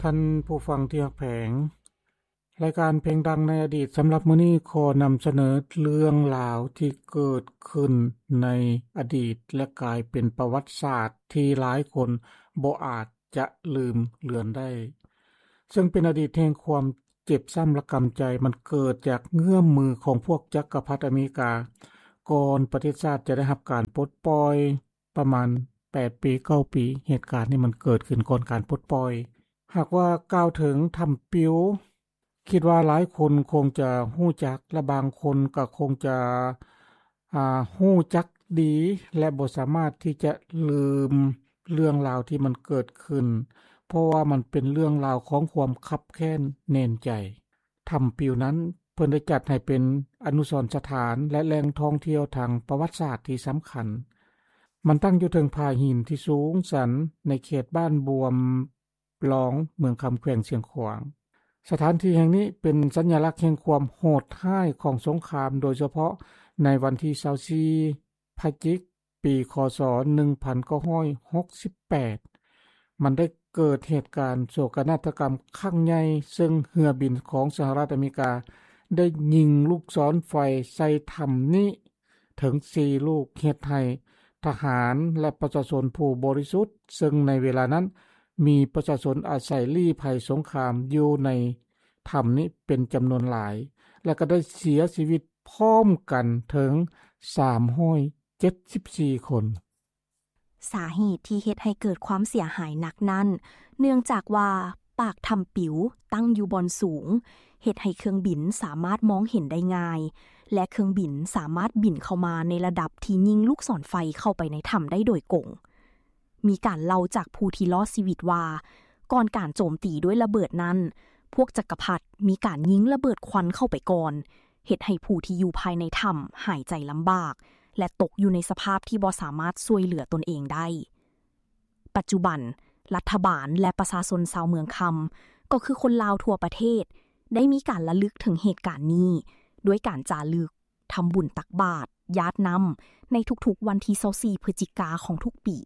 ທ່ານຜູ້ຟັງທີ່ຮັກແພງ, ລາຍການເພງດັງໃນອະດີດສຳລັບມື້ນີ້ຂໍນຳສະເໜີເລື່ອງລາວທີ່ເກີດຂຶ້ນໃນອະດີດ ແລະ ກາຍເປັນປະຫວັດສາດທີ່ຫຼາຍຄົນບໍ່ອາດຈະລືມເລືອນໄດ້, ເຊິ່ງເປັນອະດີດແຫ່ງຄວາມເຈັບຊ້ຳລະກຳໃຈ. ມັນເກີດຈາກເງື້ອມມືຂອງພວກຈັກກະພັດອາເມລິກາ ກ່ອນປະເທດຊາດຈະໄດ້ຮັບການປົດປ່ອຍ ປະມານແປດປີ ເກົ້າປີ. ເຫດການນີ້ມັນເກີດຂຶ້ນກ່ອນການປົດປ່ອຍ. ຫາກວ່າກ່າວເຖິງຖ້ຳປິວ, ຄິດວ່າຫຼາຍຄົນຄົງຈະຮູ້ຈັກ ແລະ ບາງຄົນກໍຄົງຈະ ອ່າ ຮູ້ຈັກດີ ແລະ ບໍ່ສາມາດທີ່ຈະລືມເລື່ອງລາວທີ່ມັນເກີດຂຶ້ນ, ເພາະວ່າມັນເປັນເລື່ອງລາວຂອງຄວາມຄັບແຄ້ນແໜ້ນໃຈ. ຖ້ຳປິວນັ້ນ ເພິ່ນໄດ້ຈັດໃຫ້ເປັນອະນຸສອນສະຖານ ແລະ ແຫຼ່ງທ່ອງທ່ຽວທາງປະຫວັດສາດທີ່ສຳຄັນ. ມັນຕັ້ງຢູ່ເທິງຜາຫີນທີ່ສູງຊັນໃນເຂດບ້ານບວມຫຼອງ ເມືອງຄຳ ແຂວງຊຽງຂວາງ. ສະຖານທີ່ແຫ່ງນີ້ເປັນສັນຍະລັກແຫ່ງຄວາມໂຫດຮ້າຍຂອງສົງຄາມ, ໂດຍສະເພາະໃນວັນທີຊາວສີ່ ພະຈິກ ປີ ຄ.ສ. ໜຶ່ງພັນເກົ້າຮ້ອຍຫົກສິບແປດ ມັນໄດ້ເກີດເຫດການໂສກະນາດຕະກຳຄັ້ງໃຫຍ່, ເຊິ່ງເຮືອບິນຂອງສະຫະລັດອາເມລິກາໄດ້ຍິງລູກສອນໄຟໃສ່ຖ້ຳນີ້ເຖິງສີ່ລູກ, ເຮັດໃຫ້ທະຫານ ແລະ ປະຊາຊົນຜູ້ບໍລິສຸດ, ເຊິ່ງໃນເວລານັ້ນມີປະຊາຊົນອາໄສລີ້ໄພສົງຄາມຢູ່ໃນຖ້ຳນີ້ເປັນຈຳນວນຫຼາຍ ແລະ ກໍໄດ້ເສຍຊີວິດ ພ້ອມກັນເຖິງສາມຮ້ອຍເຈັດສິບສີ່ຄົນ. ສາເຫດທີ່ເຮັດໃຫ້ເກີດຄວາມເສຍຫາຍໜັກນັ້ນ ເນື່ອງຈາກວ່າປາກຖ້ຳປິວຕັ້ງຢູ່ບ່ອນສູງ, ເຮັດໃຫ້ເຄື່ອງບິນສາມາດມອງເຫັນໄດ້ງ່າຍ ແລະ ເຄື່ອງບິນສາມາດບິນເຂົ້າມາໃນລະດັບທີ່ຍິງລູກສອນໄຟເຂົ້າໄປໃນຖ້ຳໄດ້ໂດຍກົງ. ມີການເລົ່າຈາກຜູ້ທີ່ລອດຊີວິດວ່າ ກ່ອນການໂຈມຕີດ້ວຍລະເບີດນັ້ນ, ພວກຈັກກະພັດມີການຍິງລະເບີດຄວັນເຂົ້າໄປກ່ອນ, ເຮັດໃຫ້ຜູ້ທີ່ຢູ່ພາຍໃນຖ້ຳຫາຍໃຈລຳບາກ ແລະ ຕົກຢູ່ໃນສະພາບທີ່ບໍ່ສາມາດຊ່ວຍເຫຼືອຕົນເອງໄດ້. ປັດຈຸບັນ, ລັດຖະບານ ແລະ ປະຊາຊົນຊາວເມືອງຄຳ ກໍຄືຄົນລາວທົ່ວປະເທດ ໄດ້ມີການລະລຶກເຖິງເຫດການນີ້ ດ້ວຍການຈາລຶກ, ທຳບຸນຕັກບາດ, ຢາດນ້ຳ ໃນທຸກໆວັນທີຊາວສີ່ ພຶສຈິກາຂອງທຸກປີ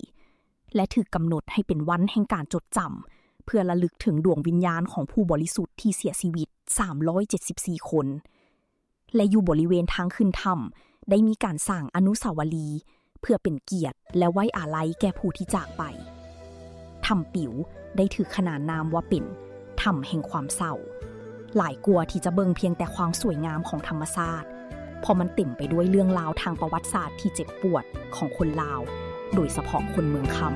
ແລະ ຖືກກຳນົດໃຫ້ເປັນວັນແຫ່ງການຈົດຈຳ ເພື່ອລະລຶກເຖິງດວງວິນຍານຂອງຜູ້ບໍລິສຸດທີ່ເສຍຊີວິດສາມຮ້ອຍເຈັດສິບສີ່ຄົນ ແລະ ຢູ່ບໍລິເວນທາງຂຶ້ນຖ້ຳ ໄດ້ມີການສ້າງອະນຸສາວະລີ ເພື່ອເປັນກຽດ ແລະ ໄວ້ອາໄລແກ່ຜູ້ທີ່ຈາກໄປ. ຖ້ຳປິວໄດ້ຖືກຂນານນາມວ່າເປັນຖ້ຳແຫ່ງຄວາມເສົ້າ ຫຼາຍກວ່າທີ່ຈະເບິ່ງພຽງແຕ່ຄວາມສວຍງາມຂອງທຳມະຊາດ, ເພາະມັນເຕັມໄປດ້ວຍເລື່ອງລາວທາງປະຫວັດສາດທີ່ເຈັບປວດຂອງຄົນລາວ, ໂດຍສະເພາະຄົນເມືອງຄຳ.